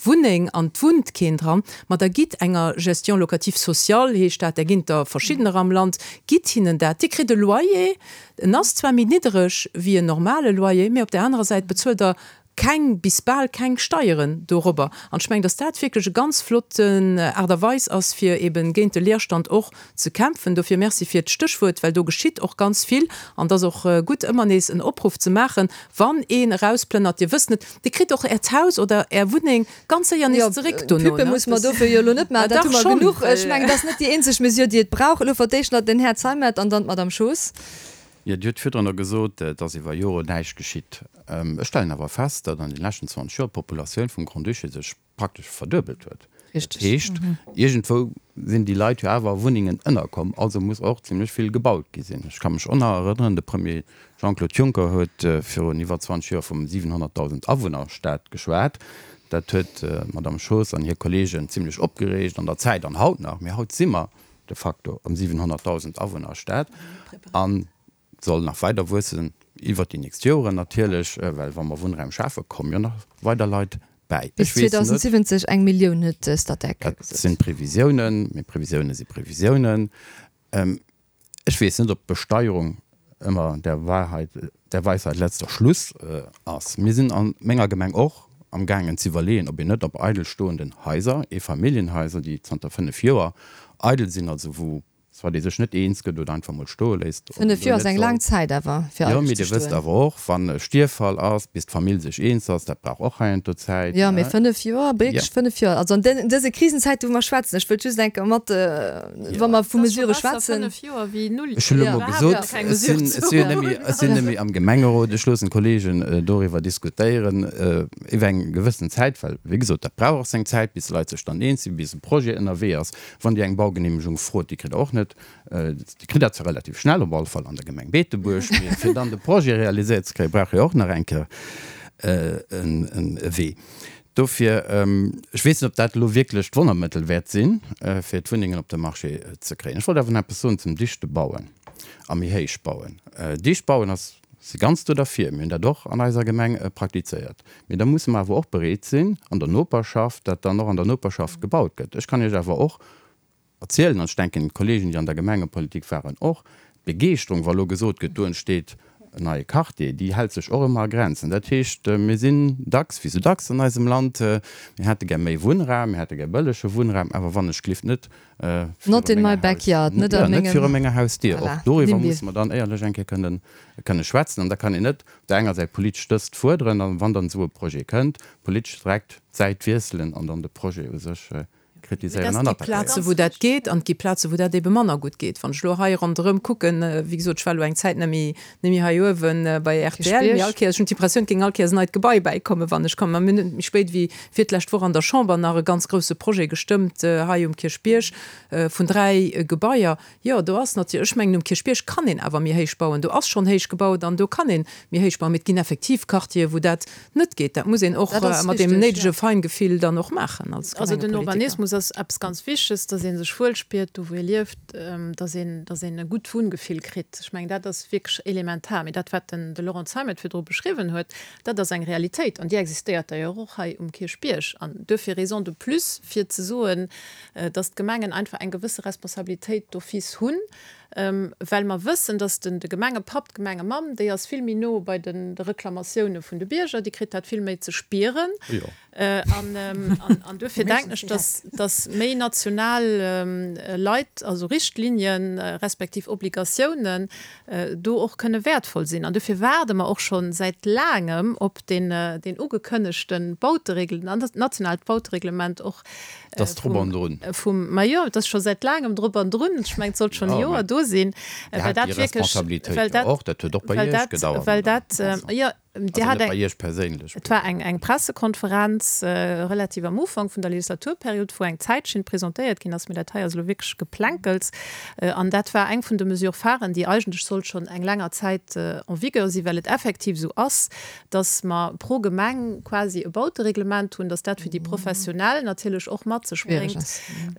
Wunneng an 't wunnt keen dran, ma da gitt enger Gestion locative sociale, heescht dat, där ginn et der verschiddener am Land, gitt hinnen dat. Dir kritt e Loyer, en ass zwar méi niddereg wéi en normale Loyer, mä op där anerer Säit bezuelt Der keng, bis bal keng Steieren dorobber. An ech mengen, dass dat wierklech e ganz flotten Aart a Weis ass, fir eben géint de Leerstand och ze kämpfen. Dofir Merci fir d'Stéchwuert, well do geschitt och ganz vill. An et ass och gutt, ëmmer nees en Opruff ze maachen, wann een erausplënnert, Dir wësst net, Dir kritt och Äert Haus oder Är Wunneng ganz séier nees zeréck dono. Pubbe musse mer dofir jo elo net maachen, dat hu mer genuch. Ech mengen, dat ass net déi eenzeg Mesure, déi et brauch. Elo fir d'éischt nach den Här Zeimet an dann d'Madame Schoos. Jo, Dir hutt virdrunner gesot, et ass iwwer Joren näischt geschitt. Ech stellen awer fest, datt an de leschten 20 Joer d'Populatioun vum Grand-Duché sech praktesch verduebelt huet. Dat heescht, iergendwou sinn déi Leit jo awer a Wunnengen ënnerkomm, also muss och zimlech vill gebaut gi sinn. Ech ka mech och nach erënneren, de Premier Jean-Claude Juncker huet virun iwwer 20 Joer vum 700.000 Awunner-Staat geschwat. Dat huet d'Madame Schoos an hir Kolleegen zimlech opgereegt an der Zäit an haut nach. Mee haut si mer de facto am 700.000 Awunner-Staat an soll nach weider wuessen iwwert déi nächst Joren natierlech, well wa mer Wunnraum schafen, komme jo nach weider Leit bäi. Bis 2070 eng Millioun huet Statec gesot. Dat sinn d'Previsiounen, mee Previsiounen si Previsiounen. Ech weess net, ob d'Besteierung ëmmer der Wahrheit, der Weisheit letzter Schluss ass. Mir sinn a menger Gemeng och am gaangen z'iwwerleeën, ob een net op eidel stoenden Haiser, Eefamilljenhaiser, déi zanter 5 Joer eidel sinn, also wou soit ee sech net eens gëtt oder einfach mol stoe léisst, ob een do net soll. Zäit awer fir Jo, mee Dir wësst awer och, wann e Stierffall ass, bis d'Famill sech eens ass, dat brauch och heiansdo Zäit. Jo, mee 5 Joer, wierklech 5 Joer, also an dëse Krisenzäite wou mer schwätzen, ech wëllt just eng Kéier mat, wa mer vu Mesurë schwätzen. Ech hunn elo mol gesot, ech sinn, ech sinn jo net méi, ech sinn net méi am Gemengerot, ech loossen d'Kollegen doriwwer diskutéieren iwwer eng gewëssen Zäit, well wéi gesot, dat brauch och seng Zäit, bis d'Leit sech dann eens sinn, bis e Projet ënnerwee ass. Wann Dir eng Baugenehmegung frot, déi kritt Der och net. Dir kritt dat zwar relativ schnell, op alle Fall an der Gemeng Beetebuerg, mee fir dann de Projet realiséiert ze kréien, brauch jo och nach eng Kéier e Wee. Dofir, ech weess net, ob dat elo wierklech d'Wonnermëttel wäert sinn, fir d'Wunnengen op de Marché ze kréien. Ech wollt awer nach eppes soen zum dichte Bauen a méi héich bauen. Dicht bauen ass, si ganz do derfir, mir hunn dat och an eiser Gemeng praktizéiert. Mee da musse mer awer och bereet sinn, an der Noperschaft, dat dann och an der Noperschaft gebaut gëtt. Ech kann Iech awer och erzielen, an ech denken, d'Kollegen, déi an der Gemengepolitik waren, och, d'Begeeschterung, wa lo gesot gëtt, do entsteet en neie Quartier, déi hält sech och ëmmer a Grenzen. Dat heescht, mir sinn dacks, wéi sou dacks an eisem Land, mir hätte gär méi Wunnraum, mir hätte gär bëllege Wunnraum, awer wann ech glift net viru menger Haus, jo, net viru menger Hausdier. Och doriwwer musse mer dann éierlech eng Kéier kënne schwätzen. An da kann een net op der enger Säit politesch dëst fuerderen an wann dann esou e Projet kënnt, politesch direkt d'Säit wiesselen an dann de Projet u sech kritiséieren an attackéieren. Et gi Plaze wou dat geet an et gi Plaze wou dat ebe manner gutt geet. Wann ech elo hei ronderëm kucken, wéi gesot, ech war elo eng Zäit net méi, net méi hei uewe bei rtl, mee all Kéiers, ech hunn d'Impressioun, et géing all Kéiers en neit Gebai bäikommen, wann ech kommen. Mir hunn net méi spéit wéi fir d'lescht Woch an der Chamber nach e ganz grouse Projet gestëmmt hei um Kierchbierg vun 3 Gebaier. Jo, do ass natierlech, ech mengen um Kierchbierg kann een awer méi héich bauen, do ass schonn héich gebaut an do kann ee méi héich bauen, mee et ginn effektiv Quartiere wou dat net geet. Dat muss een och mat deem néidege Feingefill dann och maachen als Also den Gemengepolitiker. Urbanismus ass eppes ganz Wichteges, dass ee sech wuel spiert do wou ee lieft, dass een, dass een e gutt Wunngefill kritt. Ech mengen dat ass wierklech elementar. Mee dat wat den de Laurent Zeimet virdru beschriwwen huet, dat ass eng Realitéit an déi existéiert d'ailleurs och hei um Kierchbierg. An duerfir Raison de plus fir ze soen, dass d'Gemengen einfach eng gewësse Responsabilitéit d'office hunn, well mer wëssen, dass den de Gemengepapp, d'Gemengemamm, déi ass vill méi no bei de Reklamatioune vun de Bierger, déi kritt dat vill méi ze spieren. An duerfir denken ech, dass dass méi national Leit, also Richtlinien, respektiv Obligatiounen do och kënne wäertvoll sinn. An duerfir waarde mer och scho säit laangem op deen deen ugekënnegte Bauteregl, nationaalt Bautereglement och Et ass drop an drun. Vum, ma jo, et ass scho säit laangem drop an drun. Ech mengen, et sollt schonn e Joer do sinn. Dir hat déi Responsabilitéit jo och. Dat huet och bei Iech gedauert, Well dat, jo, Dir hat eng. Also net bei Iech perséinlech. Et war eng, eng Pressekonferenz relativ am Ufank vun der Legislaturperiod, wou eng Zäitschinn presentéiert ginn ass. Mee dat hei ass elo wierklech Geplänkels. An dat war eng vun de Mesures phares, déi eigentlech sollt schonn eng länger Zäit en vigueur sinn, well et effektiv esou ass, dass mer pro Gemeng quasi e Bautereglement hunn, dass dat fir déi Professionell natierlech och mat sech bréngt,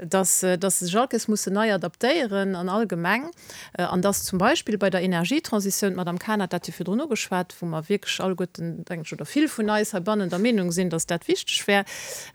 dass dass se sech all Kéiers mussen nei adaptéieren an all Gemeng an dass zum Beispill bei der Energietransitioun, d'Madame Cahen hat dat jo virdrun ugeschwat, wou mer wierklech alleguerten, denken ech, oder vill vun eis heibannen der Meenung sinn, dass dat wichteg wär.